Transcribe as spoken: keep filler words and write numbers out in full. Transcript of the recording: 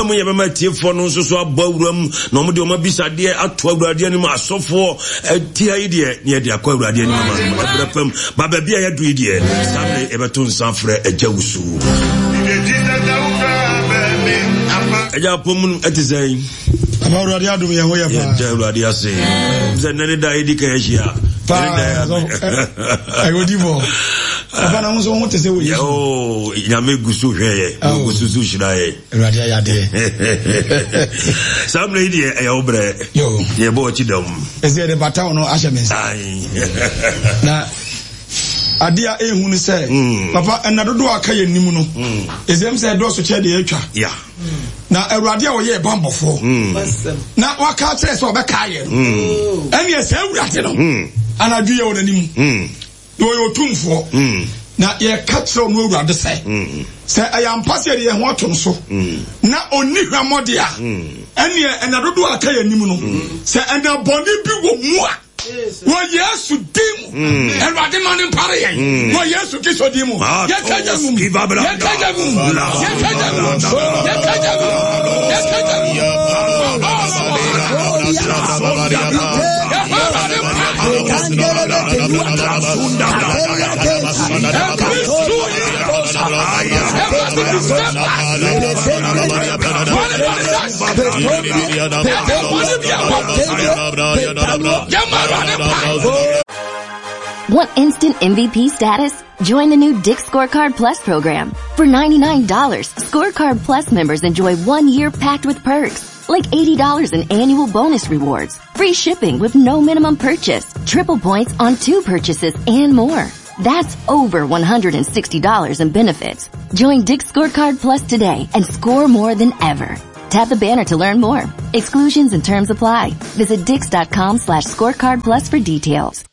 Mu yɛbɛma atiefoɔ no nso so abɔ awura mu na wɔn de wɔn abisadeɛ ato Awurade anim. Asɔfoɔ atia yi deɛ, ne yɛde akɔ Awurade anim ama no ɛberɛ pam ba. Baabi a yɛadu yi deɛ, saa mmerɛ yɛbɛto nsa frɛ Agya Wusu. Agya, apɔ mu ɛte sɛn? Ama Awurade adom, yɛn ho yɛ paa. Yɛda Awurade ase sɛ nnɛ ne da yɛdi kan ahyia. Paa, ɛyɛ odifo papa na ho nso ho te sɛ wɔ Yesu. Oh, Nyame gu so hwɛ yɛ, gu so so hyira yɛ. Awurade ayɛ adeɛ. Saa mmerɛ yi deɛ, ɛyɛ wo berɛ, yɛbɔ ɔkyi dɔm. Ɛsɛ yɛde bata wo no ahyɛ me nsa na adeɛ a ɛhu no sɛ Mm. papa, ɛna dodoɔ a aka yɛ nim no ɛsɛm sɛ ɛdɔɔso kyɛ deɛ atwa ya na Awurade a ɔyɛ bambɔfoɔ na waka kyerɛ sɛ ɔbɛka yɛ no, ɛneɛ sɛ Awurade no anadwo yɛ wɔ n'anim na ɔyɛ otumfoɔ na yɛka kyerɛ ɔno Awurade sɛ sɛ ɛyɛ ampa sɛ yɛde yɛn ho ato no so na ɔnni hwammɔde a, ɛneɛ ɛna dodoɔ a aka yɛ anim no, sɛ ɛna bɔne bi wɔ mu a, wɔ Yesu din mu, Awurade ma ne mpare yɛn wɔ Yesu Kristo din mu. Yɛka gya mu, yɛka gya mu, yɛka gya mu, yɛka gya mu, yɛka gya mu. Want instant M V P status? Join the new Dick's Scorecard Plus program. For ninety-nine dollars, Scorecard Plus members enjoy one year packed with perks, like eighty dollars in annual bonus rewards, free shipping with no minimum purchase, triple points on two purchases, and more. That's over one hundred sixty dollars in benefits. Join Dick's Scorecard Plus today and score more than ever. Tap the banner to learn more. Exclusions and terms apply. Visit dicks dot com slash scorecard plus for details.